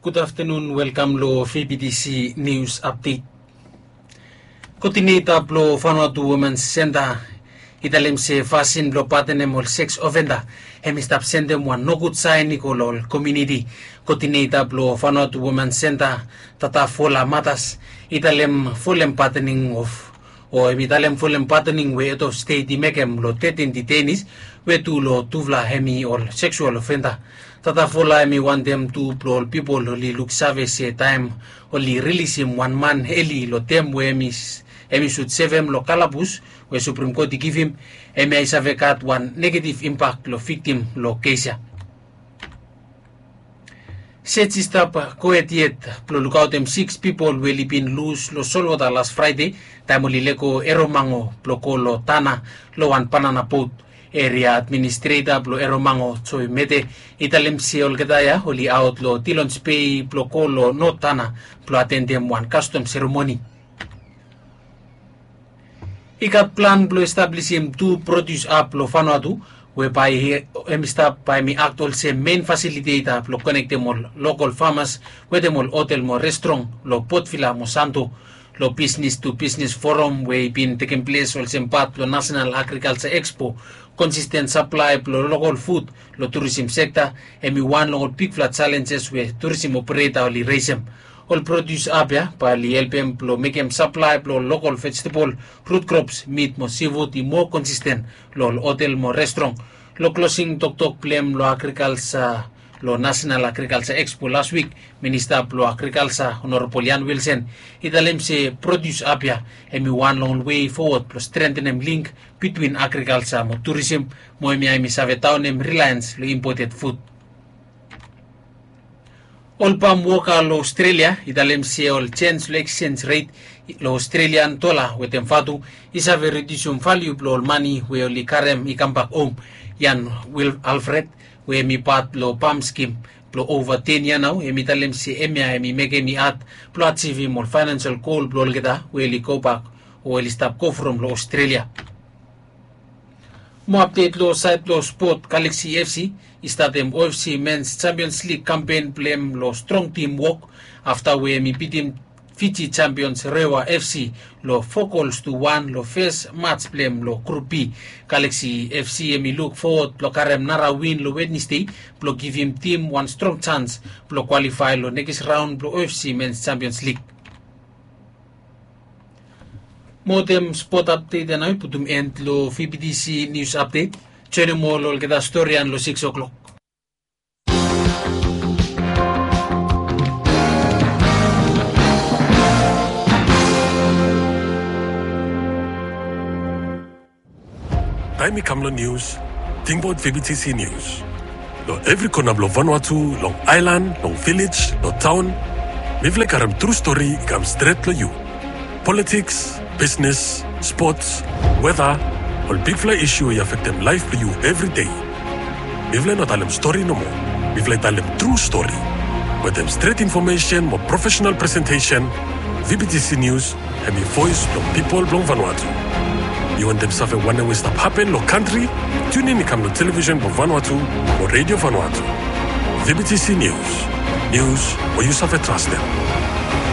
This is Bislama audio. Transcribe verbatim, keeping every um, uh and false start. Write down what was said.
Gud aftenun, welkam long V B T C News Update. Koodineta blong Vanuatu Women Center i talem se fasin blong patenem ol seks ofenda hem i stap sendem wan nogud saen i go long ol komuniti. Koodineta blong Vanuatu Women Center, Tata Fola Matas, i talem folem patening of o hem i talem folem patening we hed of stet i mekem long tetin ditenis we tu long tufala hem i ol seksual ofenda. Tata Fola hem i wantem tu blong ol pipol oli luksave se taem oli rilisim wan man eli long tem we hem i sut sevem long kalabus we Suprim Kot i givim, hemia i save gat wan negetiv impak long viktim long kes ya. Sej i stap gohed yet blong lukaotem siks pipol we oli bin lus long solwota las Fraede taem oli lego Eromango blong go long Tana long wan banana bot. Eria administreta blong Eromango, Joe Mete, i talem se olgeta ya oli aot long Dillons Bay blong go long Not Tana blong atendem wan kastom seremoni. I gat plan blong establisim tu prodius ap long Vanuatu we bae hem i stap bae hem i akt olsem mein fasiliteta blong konektem ol lokol famas wetem ol hotel mo restrong long Port Vila mo Santo. Long bisnis tu bisnis foram we i bin tekem ples olsem pat blong Nasenal Agrikalja Ekspo, konsisten saplae blong lokol fud long turisim sekta hem i wan long ol bigfala jalenjes we turisim opereta oli resem. Ol prodius ap ya bae oli helpem blong mekem saplae blong lokol vejetebol, rut krops, mit mo sivud i moa konsisten long ol hotel mo restrong. Long klosing toktok blong hem long agrikalja long Nasenal Agrikalja Ekspo las wik, Minista blong Agrikalja Honorabol Ian Wilson i talem se prodius ap ya hem i wan long ol wei fowod blong strentenem link bitwin agrikalja mo turisim, mo hemia hem i save daonem rilaens long impoted fud. Ol pam woka long Ostrelia i talem se ol jens long eksenj ret long Ostrelian dola wetem vatu i save ridiusim valiu blong ol mane we oli karem i kambak hom. Ian Wil Alfred, we hem i pat blong pam skim blong ova ten yia nao, hem i talem se hemia hem i mekem i had blong ajivim ol faenensel gol blong olgeta we oli gobak o oli stap go from long Ostrelia. Moa apdet long saed blong spot, Galaxy F C i statem O F C Mens Champions League kampen blong hem long strong tim wok afta we hem i bitim Fiji Champions Rewa F C long fo gols tu wan long fes mats blong hem long Grup B. Galaxy F C hem i luk fowod blong karem nara win long Wednesdei blong givim tim wan strong jans blong kwalifae long nekis raon blong O F C Mens Champions League. Mo wetem spot apdet ya nao i putum en long V B T C News Update. Joenem ol olgeta stori ya long sikis o'clock. Taem i kam long nius, tingbaot V B T C Nius. Long evri kona blong Vanuatu, long aelan, long vilej, long taon, mifala i karem tru stori i kam stret long yu. Politiks, bisnes, spots, weta, ol bigfala isu we i afektem laef blong yu evri dei. Mifala i no talem stori nomo. Mifala i talem tru stori. Wetem stret infomesen mo profesenal presentesen, V B T C Nius hem i voes blong pipol blong Vanuatu. Yu wantem save wanem we i stap hapen long kantri? Tiunin i kam long televisen blong Vanuatu o Redio Vanuatu. V B T C Nius. Nius we yu save trastem.